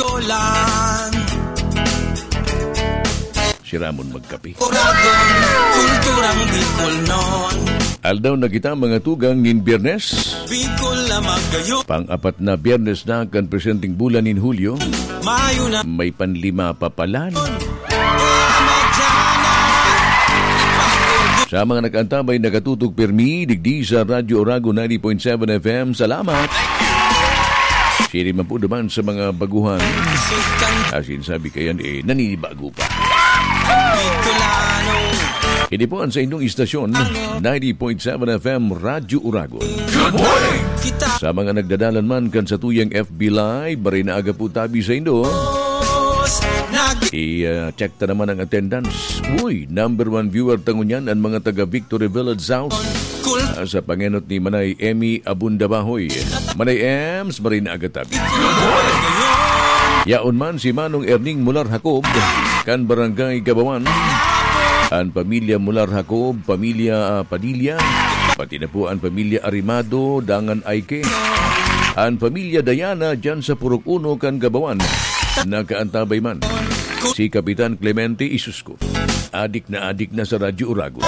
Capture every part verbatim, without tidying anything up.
Olan. Si Ramon magkape. Oragon, kulturang Bicolnon. Aldaw na kita, mga tugang, nin Biyernes. Bicol na magayon. Pang-apat na Biyernes na kan presenteng bulan nin Hulyo. Mayo na. May panlima pa palan. Sa mga nag-antabay, nakatutok pirmi, digdi sa Radyo Oragon ninety point seven F M, salamat. Siring man po naman sa mga baguhan. Asin sabi kayan, eh, naninibago pa. Hindi po ang sa inyong istasyon, ninety point seven F M, Radyo Oragon. Good morning! Sa mga nagdadalan man kan sa tuyang F B Live, maray na aga po tabi sa indo. I-check ta naman ang attendance. Uy, number one viewer ta ngunyan, ang mga taga Victory Village South. Ah, sa pangenot ni Manay Emmy Abunda Bahoy. Manay Ems, maray na aga tabi. Yaon man si Manong Erning Mular Jacob, kan Barangay Gabawan. An pamilya Mular Jacob, pamilya, ah, Padilla, pati na po an pamilya Arimado, dangan Aike. An pamilya Diana, dyan sa Purok Uno kan Gabawan. Nakaantabay man si Kapitan Clemente Isusco. Adik na adik na sa Radyo Oragon.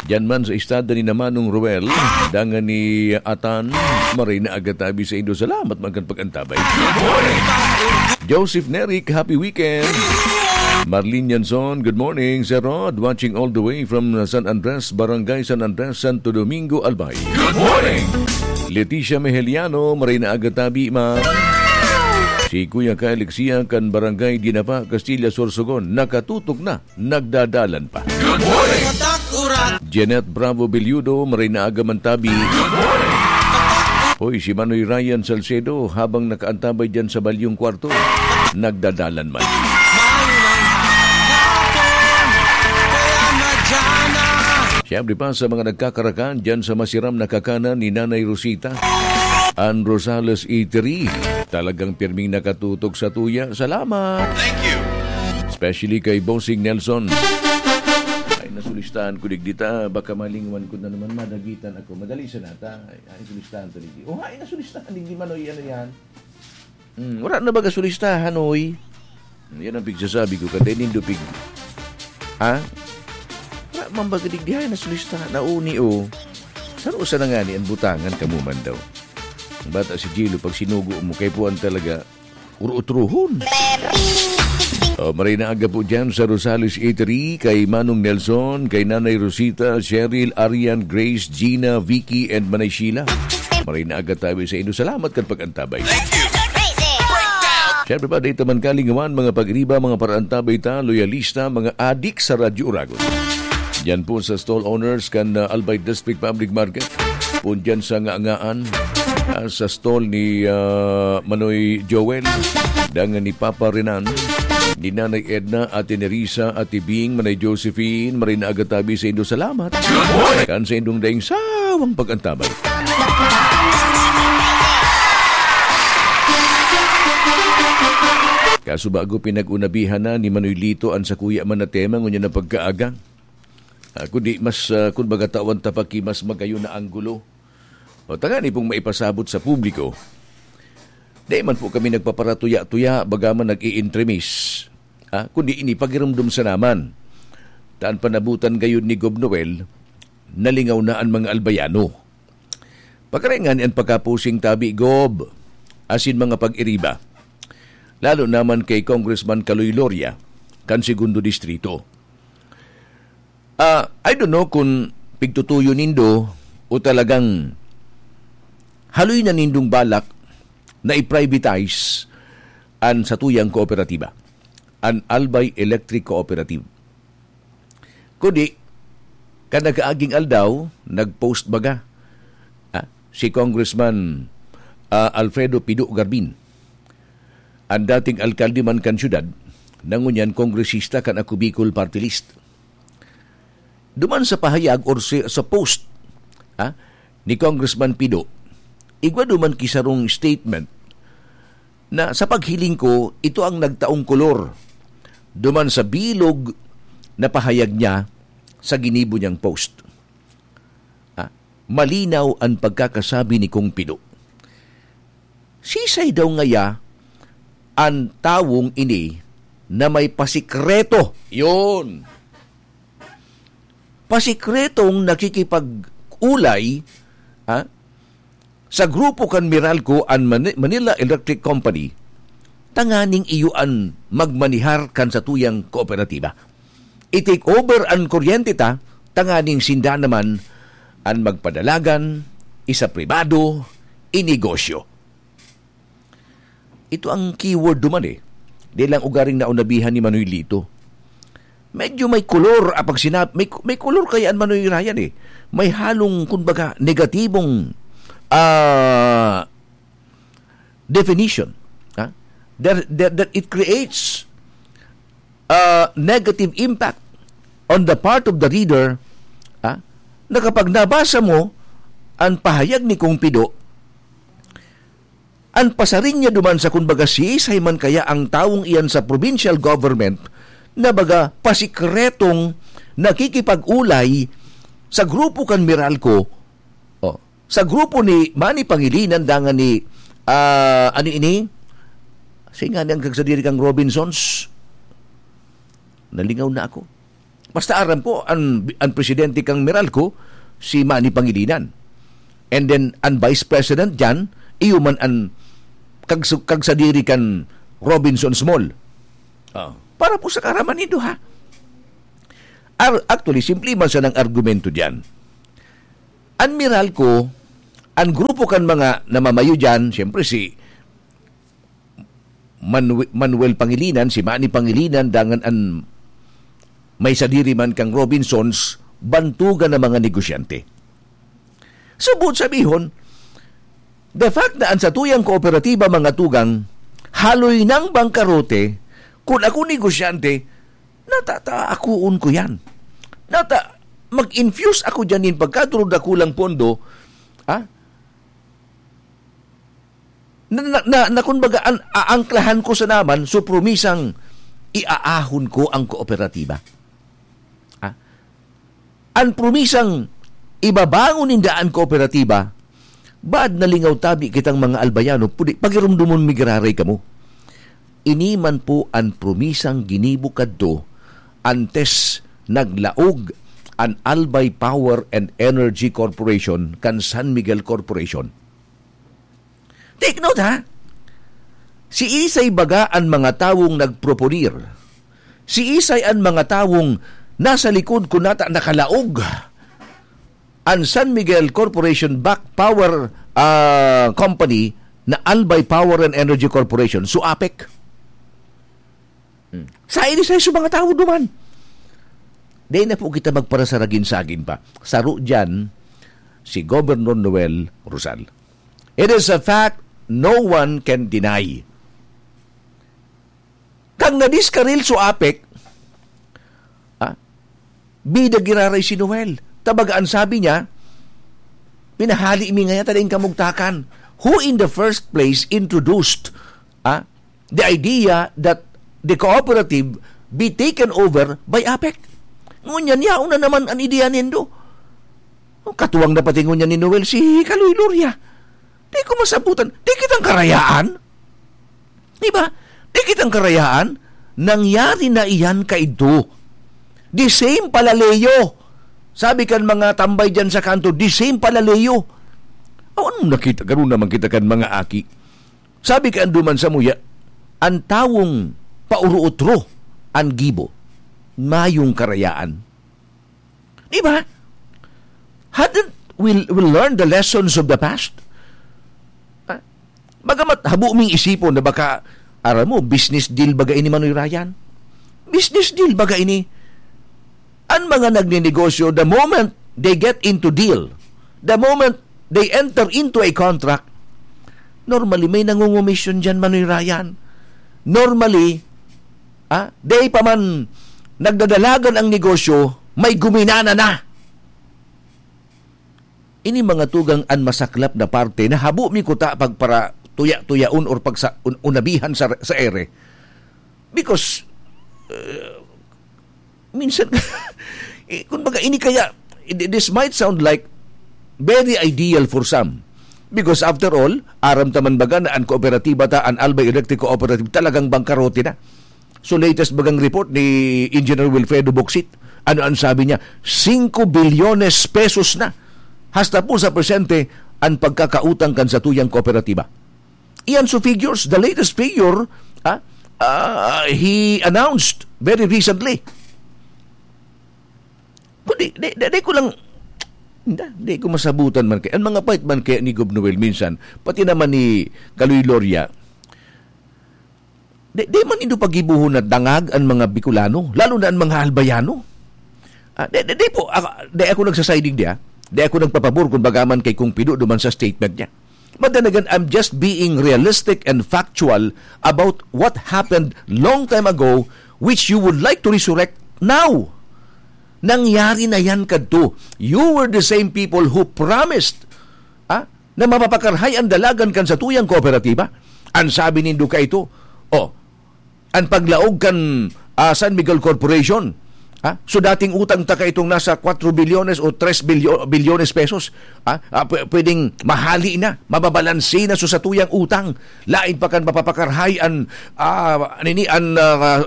Diyan man sa istada ni na Manong Ruel, dangan ni Atan, maray na aga tabi sa indo. Salamat man kan pag-antabay. Joseph Neric, happy weekend. Marlene Yanson, good morning. Sir Rod, watching all the way from San Andres, Barangay San Andres, Santo Domingo, Albay. Good morning. Leticia Meheliano, maray na aga tabi, ma. Si Kuya Kyle Ixia kan Barangay Dinapa, Castilla, Sorsogon, nakatutok na, nagdadalan pa. Good morning. Jeanette Bravo Belludo, maray na aga man tabi. Good morning. Hoy, si Manoy Ryan Salcedo, habang nakaantabay dyan sa balyong kwarto, nagdadalan man. Siyempre pa sa mga nagkakarakan dyan sa masiram na kakanan ni Nanay Rosita, an Rosales Eatery. Talagang pirming nakatutok sa tuya. Salamat! Thank you! Especially kay Bossing Nelson. Ay, nasulistahan ko digdi ta. Baka malingwan ko na naman, madagitan ako. Madali sa nata. Ay, ay, nasulistahan to digdi. Oh, ay, nasulistahan digdi, Manoy. Ano yan? Hmm, wala na baga sulistahan, oy? Yan ang pigsasabi ko, kada nindo pig-, ha? Wala man baga digdi, ay, nasulistahan. Nauni, oh. Saro sa na nga ni ang butangan, kamo man daw. Ang bata si Jilo, pag sinugo mo, kay puwan talaga, uro-utrohon. Oh, maray na aga po dyan sa Rosales Eatery, kay Manong Nelson, kay Nanay Rosita, Cheryl, Arian, Grace, Gina, Vicky, and Manay Sheila. Maray na aga tabi sa inyo. Salamat kan pag-antabay. Siyempre pa, dito man kalingawan, mga pag-iriba, mga paraantabay ta, loyalista, mga adik sa Radyo Oragon. Diyan po sa stall owners kan, ah, Albay District Public Market. Pun diyan sa Ngangaan, ah, sa stall ni, ah, Manoy Joel, dangan ni Papa Renan, ni Nanay Edna, Ate Nerissa, Ate Bing, Manay Josephine, maray na aga tabi sa indo. Salamat. Kan sa indong daing sawang pag-antabay. Kaso bago pinag-unabihan na ni Manoy Lito an sakuya man na tema ngunyan na pagkaaga. Ah, kundi mas, ah, kun baga tawan ta pa ki mas magayon na anggulo. O, tangani pong maipasabot sa publiko, dai man po kami nagpaparatuya-tuya, baga man nag-i-entremis. Ah, kundi ini pagirumdom sa naman. Ta an panabutan gayon ni Gob Noel, nalingaw na an mga Albayano. Pagkarengan an pagkapusing tabi, Gob, asin mga pag-iriba. Lalo naman kay Congressman Kaloy Loria, kan Segundo Distrito. Ah, I don't know kung pigtutuyo nindo o talagang haloy na nindong balak na i-privatize an satuyang kooperatiba, an Albay Electric Cooperative. Kundi, kan nag-aaging aldaw, nag-post baga, ah, si Congressman, ah, Alfredo Pido Garbin, an dating alkalde man kan syudad, na ngunyan kongresista kan Ako Bicol Party List. Duman sa pahayag or si, sa post, ha, ni Congressman Pido, igwa duman ki sarong statement na sa paghiling ko, ito ang nagtaong kolor duman sa bilog na pahayag niya sa ginibo niyang post. Ha, malinaw ang pagkakasabi ni Kong Pido. Sisay daw ngaya an tawong ini na may pasikreto? Yun. Pasikretong nakikipag-ulay, ha, sa grupo kan Meralco an Mani-, Manila Electric Company, tanganing iyo an magmanihar kan satuyang kooperatiba. I-take over an kuryente ta, tanganing sinda naman an magpadalagan, isapribado, inegosyo. Ito ang keyword duman eh. Di lang ugaring naunabihan ni Manoy Lito. Medyo may kolor, ah, pag sinab-, may, may kolor kaya an Manoy Ryan eh. May halong, kumbaga, negatibong, ah, definition. Ha? That, that, that it creates a negative impact on the part of the reader, ha? Na kapag nabasa mo an pahayag ni Kong Pido, an pasaring niya duman sa, kumbaga, siisay man kaya ang tawong iyan sa provincial government na baga pasikretong nakikipag-ulay sa grupo kan Meralco, oh, sa grupo ni Manny Pangilinan dangan ni, ah, ano ini? Siya nga ni ang kagsadiri kang Robinsons. Nalingaw na ako. Basta aram ko, an, an presidente kang Meralco, si Manny Pangilinan. And then, an vice president dyan, iyo man an kagsu-, kagsadiri kan Robinsons Mall. Oh. Para po sa kaaraman nindo, ha? Ar-, actually, simple man sanang argumento dyan. An Meralco, an grupo kan mga namamayo dyan, siyempre si Manue-, Manuel Pangilinan, si Manny Pangilinan, dangan an may sadiri man kang Robinsons, bantugan na mga negosyante. So, buot sabihon, the fact na an satuyang kooperatiba, mga tugang, haloy nang bangkarote, kun ako negosyante, nata-, ta-, akoon ko yan. Nata-, mag-infuse ako dyan nin pagkaduro dakulang pondo, ha? Na, na, na, na, kumbaga, an, aangklahan ko sana man, so promisang iaahon ko ang kooperatiba. Ah? An promisang ibabangon ninda an kooperatiba, baad nalingaw tabi kitang mga Albayano, pudi, pagirumdomon mi giraray kamo. Ini man po an promisang ginibo kadto antes naglaog an Albay Power and Energy Corporation kan San Miguel Corporation. Take note, ha? Si isay baga an mga tawong nagproponer. Si isay an mga tawong nasa likod kun nata nakalaog an San Miguel Corporation backed power, ah, company na Albay Power and Energy Corporation, so APEC. Hmm. Sa ini sa mga tawo duman. Dai na po kita magparasaragin-sagin pa. Saro diyan si Governor Noel Rosal. It is a fact no one can deny. Kang nadiskaril so APEC, ah, bida giraray si Noel. Tabaga an sabi niya, "Pinahali mi ngaya ta daing kamugtakan." Who in the first place introduced, ah, the idea that the cooperative be taken over by APEC? Ngunyan, yaon na naman an ideya nindo. Katuwang na pati ngunyan ni Noel si Kaloy Loria. Di ko masabutan. Di kitang karayaan. Di ba? Di kitang karayaan. Nangyari na iyan kaidto. The same palaleyo. Sabi kan mga tambay dyan sa kanto, the same palaleyo. Aw, anong nakita? Ganun naman kita kan mga aki. Sabi kan duman sa muya, an tawong pauruotro an gibo, mayong karayaan. Di ba? Hadn't we, we learned the lessons of the past? Ah, bagamat habo ming isipon na baka, aram mo, business deal baga ini, Manoy Ryan? Business deal baga ini? An mga nagnenegosyo, the moment they get into deal, the moment they enter into a contract, normally, may nangungomisyon diyan, Manoy Ryan. Normally, ah, dai pa man nagdadalagan ang negosyo, may guminana na. Ini mga tugang an masaklap na parte na habo mi kuta pagpara tuya-tuyaon or pagsa-, un-, unabihan sa, sa ere. Because, uh, minsan, eh, kumbaga, ini kaya, this might sound like very ideal for some. Because after all, aram ta man baga na an kooperatiba ta, an Albay Electric Cooperative, talagang bangkarote na. So, latest bagang report ni Engineer Wilfredo Boksit, ano ang sabi niya? Singko bilyones pesos na. Hasta po sa presente, ang pagkakautang kan satuyang kooperatiba. Iyan so figures, the latest figure, ah, ah, he announced very recently. Kundi, di, di, di ko lang, hindi, di ko masabutan man kaya. Ang mga pait man kaya ni Gob Noel minsan, pati naman ni Kaloy Loria, di, di man indo pagibuhon na dangag ang mga Bicolano, lalo na ang mga Albayano. Ah, di, di, di po, ako, di ako nagsasiding di, ah. Di ako nagpapabor kung bagaman kay Kong Pido duman sa statement niya. But then again, I'm just being realistic and factual about what happened long time ago, which you would like to resurrect now. Nangyari na yan kadto. You were the same people who promised, ah, na mapapakarhay ang dalagan kan satuyang kooperatiba. Ang sabi nindo kaito, oh, ang paglaog kan, ah, San Miguel Corporation, ah, so dating utang ta kaitong nasa kwatro bilyones o tres bilyo-, bilyones pesos, ah, ah, pwe-, pwedeng mahali na, mababalanse na so satuyang utang. Lain pa kan mapapakarhay an, ah, nini, an, ah,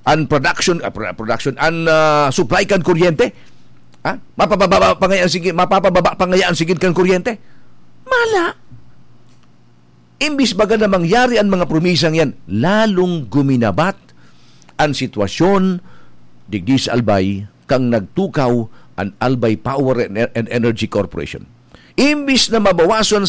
an production, ah, pro-, production, an, ah, supply kan kuryente. Ah, mapababa pa ngaya an sige, mapapababa pa ngaya an sigid kan kuryente. Mala. Imbis baga na mangyari an mga promisang yan, lalong guminabat an sitwasyon digdi sa Albay kan nagtukaw an Albay Power and, and Energy Corporation. Imbis na mabawasan